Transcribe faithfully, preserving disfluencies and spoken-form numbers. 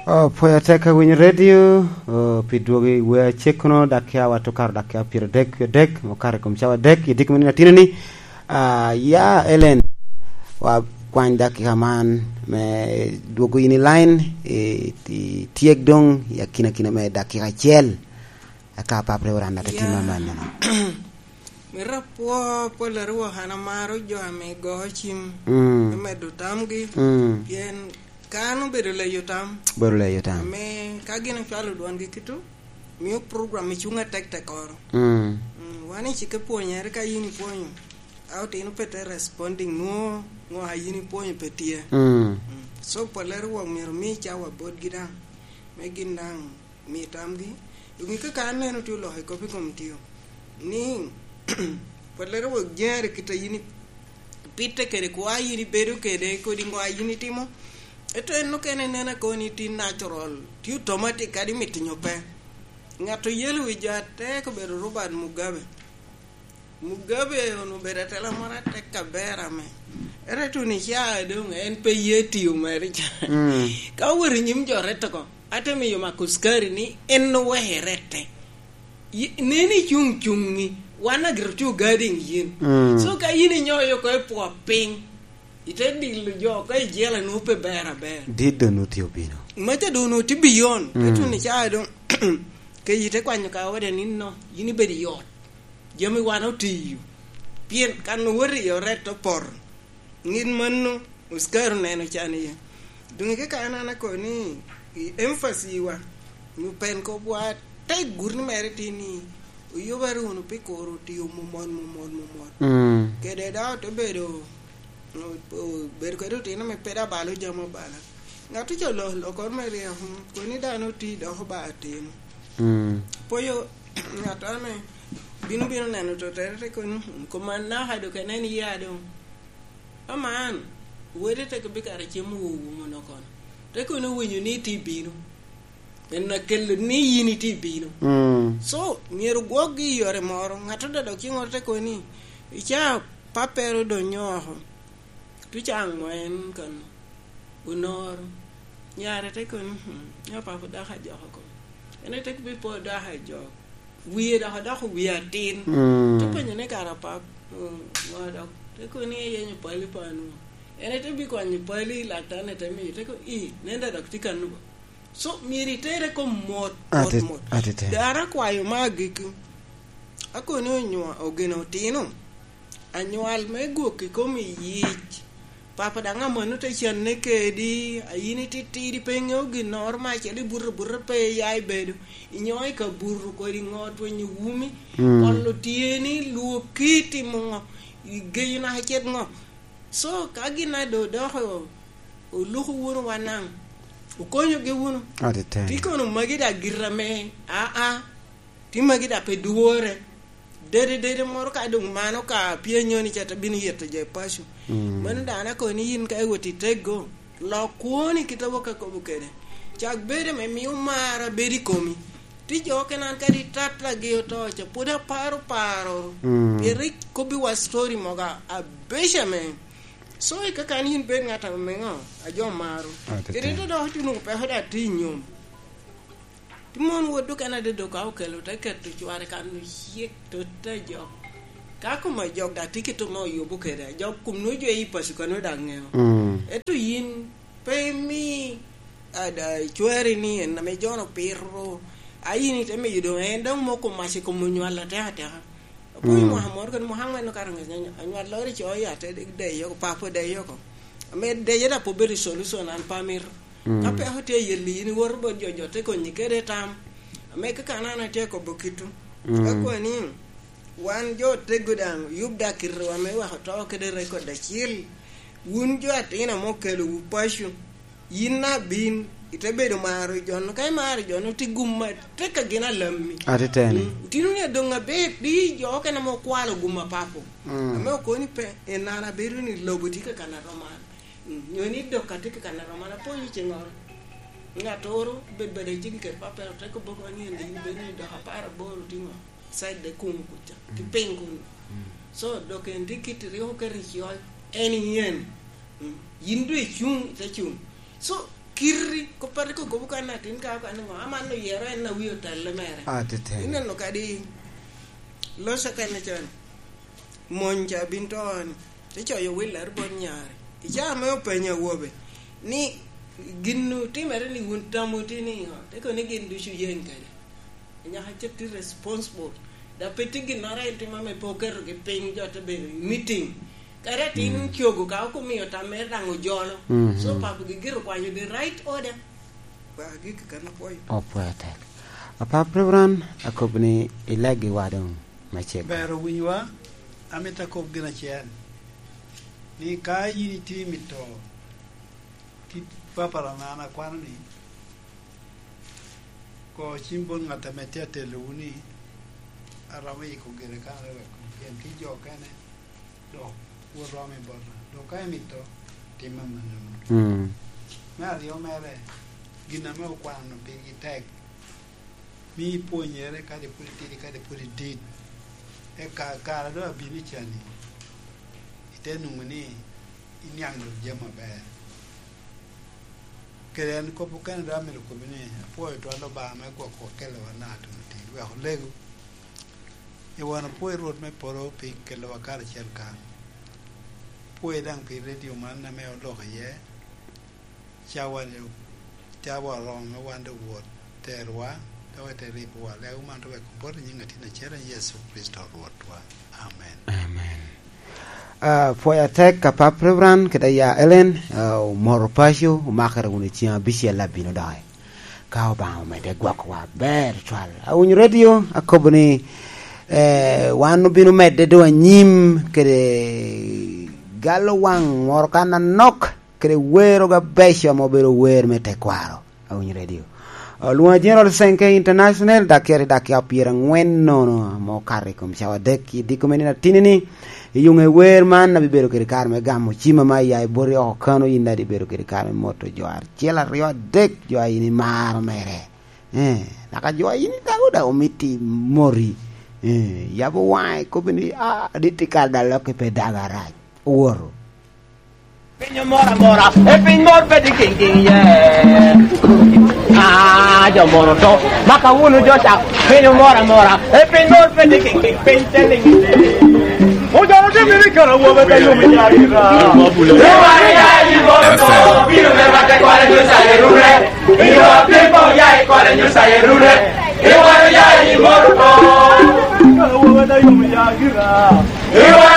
Oh, pwoyo tek ka winyo redio, oh, pi dwogo i wer acek kono, dakika wa to karo dakika pyeradek ki adek, okato i kom cawa adek, i diki mani atinani. Ah, ya, Ellen, wa kwany dakika man me dwogo in i line, i, i tyek doŋ i akinakina me dakika acel. Aka Pap Reverend ate timo amannono. Mito apwo pwolere wok an amaro jo ame go cim, mm, me medo tamgi, mm, pien kan obedo leyo tam. Obedo leyo tam. Ame ka gin ocwalo dwongi kito, mio program i cuŋ atek tekoro. Mm. Mm, wan i cike pwonyere ka yin ipwonyo, a otino pe te responding, nwo, nwo a yin ipwonyo pe tye. Mm. Mm. So, pwolere wok myero mi cawa botgi daŋ, me gin daŋ mi tamgi. Doŋ ika ka aneno tye oloko i kop i kom tio, ni, pwolere wok jere kit a yin ipitte kede kwa yin ibedo kede, kodi ŋo a yin itimo. Ento en okene nen akoni tye natural, tye automatic kadi mito nyo pe. Ŋat oyelo wi jo atek obedo Robert Mugabe. Mugabe onwoŋo obedo atela moro atek aber ame. Ento tuno i caa doŋ en pe ye tiyo mere ca. Mm. Ka owoto i nyim jo rette oko, ate miyo Marcus Garvey ni en oweko rette. Yi-, nen icuŋ cuŋi, wan agito tye ogading yin. Mm. So ka yin inyoyo oko i pwot piny, ite dilo jo oko i jela nwoŋo pe ber aber. Dit doŋ nwoŋo tye obino. Maca doŋ nwoŋo tye beyond. Mm. Ento tuno i caa doŋ, ke ite kwanyo ka ode nino, yin ibedo i ot. Jami wan otiyo. Pien kan owoto i oret opoto. Ŋit mano, Oscar oneno can iye. Doŋ i kaka an, an akobo ni, i emphasis wa, nyo pen kop wa, te gurni mere tin ni, oyubere wunu pi kuro tiyo mumon, mumon, mumon. Mm. Kede dok te bedo, o-, o-, bedo kede otino me peda balo jami abala. Ŋat oco lo-, lokoro me ryeko, mm, koni dano oti doko ba atino. Mm. Poyo ŋat ame bino, bino neno totere te koni, mm, koma naka do kene en ya doŋ. Aman, wede te bikato cem owo wumo no kono. Te koni owinyo ni iti bino. En akelo ni yin iti bino. Mm. So, myero gwokgi i yore moro. Ŋat ododo kiŋoro te koni, ica pappere odonyo oko. Tuca aŋwen kano. Onoro. Nyare te kono, "Hmm, nya papa dok ajok oko." En te bi po dok ajok. Wie dok odoko wie atin. Mm. Te penyo ni, "Kara pap, mm, ŋo dok?" Te kono ni, "Eyenyo pali pa anwo." En te bi kwanyo pali, laktar-ni te miyo, te kono, "I, nen da dok tye kano ba." So, myero itere kom mot, mot, ati-, mot. Atitino. Dara akwayo me agikki. Akoni onywa-, ogeno otino. Anywal me gwok i kom iyic. Papa daŋ amanno te canne kedi, a yin ititidi pe iŋeo ginnoro me acel, ibuto abuta pe iya ibedo, inyo i kabuto kodi ŋo, twenyo wumi, mm, olo tyeni, lwokki, timo ŋo, igeyo naka cet ŋo. So, ka gin a do dok o-, oluko wunu wa naŋ, okonyogi wunu. Atitino. Ti kono magi da gira me, aa, ti magi da pe dwore. Dede, dede moro ka doŋ mano ka pye nyoni ca te bino yeto jo i paco. Mm. Mano dano akobo ni yin ka iwot i tego, lok kwoni kit a wok akobo kede. Cak bedo me mio mar a bedo i komi. Ti jo okene an kadi tattagi oto ca, pwod aparo paro. Mm. Pien rik kobbi wa story mogo a-, abeco ame. So, i kakan yin bed ŋat ame ŋo, a jo maro. Ah, tete. Kede to dok ituno peko da ti i nyom. Ti mon wot dok en adede ka okelo, te keto cware kan ocik, to te jok. Ka kom ajok da ti kito ma oyubo kede, ajok kom no jo i paco kano da ŋeo. Mm. Eto yin pe imi, a, da, cwari ni en ame jono piro. A yin ite miyo doŋ en dok moko mac i kom onywal atek ateka. Apo i, mm, mwaka moro kede mwaka aŋwen okato ŋec, anywal loro i co ya te deyo oko, papo deyo oko. Ame deyo da pe obedo solution an pe amito. Mm. Ka peko tye ayelli, in iwoto bot jo, jo te konyi kede tam. Ame kaka an, an atye kobo kitu. Mm. Akwa ni, wan jo tego daŋ, yub da kitewa me weko to kede record acel. Wun jo atino ame okelowu paco, yin abin, ite bedo maro jo-nu. Ka imaro jo-nu, ti gum atek a gin alammi. Atiteni. Mm. Otino ni adoŋ aber, di jo okene ame okwalo gum a papo. Mm. Ame okoni pe, en an abedo ni lobo tye ka kan aroman. Mm, nyo ni dok atye ka kan aroman, apwonyo ciŋoro. Ŋattoro bed bade cigi kede pappere, ote kobo koni ni en in bedo ni dok apar aboro tye ŋo? Side de kuŋ kuca, ki, mm, piny kuno. Mm. So, dok en tye kit riko kede i col, en yen. Mm. Yin doŋ icuŋ, ite cuŋ. So, kiri, kop Pat ikokobo kan atin ka kan ngo, aman oyero en a wi otelle mere. Atete. Ineno kadi loca kan can. Mony ca bin to ni. Te coyo Willard bot nyare. Ica ame openyo awobe ni gin otimere ni wun tam otye ni ngo? Te kono ni gin ducu yeny kede. Nyaka cit ti responsible. Da pe tye ginnoro en timo ame pe oketo gi piny, jo te bedo i meeting. Kadi atin cogo ka ok omio tam mere daŋ ojolo. Mhm. So papo gi giro kwanyo the right order. Ba gik kan apwoyo. Opwoyo tek. Apap Reverend, akobo ni ilegi wa doŋ me cego. Ber owinywa, amito akob gin acel. Ni ka yin itye mito kit papara na an akwano ni, ko cim bot ŋat ame tye atellowu ni, aromo yiko gire kan wek pien ki jo okene, dok wot romo i bota. Dok ka emito, tim amannono. Mm. Me aryo mere, gin ame okwano pigi tek, mi ipwonyere kadi pwod itidi, kadi pwod idit. Eka kare doŋ abino i cani, ite nwoŋo ni iniaŋ dok jami aber. Kede en kop okene dok amito kobbi ni, apwoyo twal Obaŋa me gwoko kelo wa naka tuno tin, wek olego. I wan apwoyo Rwot me polo pi kelowa karacel kan. Apwoyo daŋ pi redio man ame oloko iye. Cawa-ni, cawa oromo me wan doŋ wot terowa, dok ete ribowa. Lego man to wek obot i nyiŋ Atin acel, Yecu Kricito Rwotwa. Amen. Amen. Ah, pwoyo atek ka Pap Reverend kede ya Ellen, ah, omoro paco, omakere wunu i ceng abicel abino doki. Ka Obaŋa omedde gwokowa aber cwal. Awinyo redio, akobo ni, eh, wan obino medde doŋ anyim kede galo waŋ moro kan anok, kede wero ga beco ame obedo wer me tekwaro. Awinyo redio. Olwoŋo General Senke International, dakier i dakiya pyerangwen nono ame okato i kom cawa adek i diko me nino atini-ni. I yuŋe wer man abibedo kede kare me gamo cim ame aya i boti oko kano, yin daŋ ibedo kede kare me moto jo acel, aryo, adek, jo a yin imaro mere. Eh, naka jo a yin daŋ odaŋ omito imoti. Eh, yabo waŋe, kobbi ni, "Ah, adit i kare daŋ lokki pe dago arac." Owoto. Piny omor amora, e piny mor pe tye kiŋ kiŋ, ye. Ah, jo moro to, maka wunu jo ca, piny omor amora, e piny mor pe tye kiŋ kiŋ, piny te liŋ. Ojoro tye miri kara wobe ka yom i nyari ra. Iwaro ya i moro to, bino me rwate kwale nyo sa erure. Iyo, apiko ya i kwale nyo sa erure. Iwaro ya i moro to. Kara wobe ka yom i nyari ra. Iwa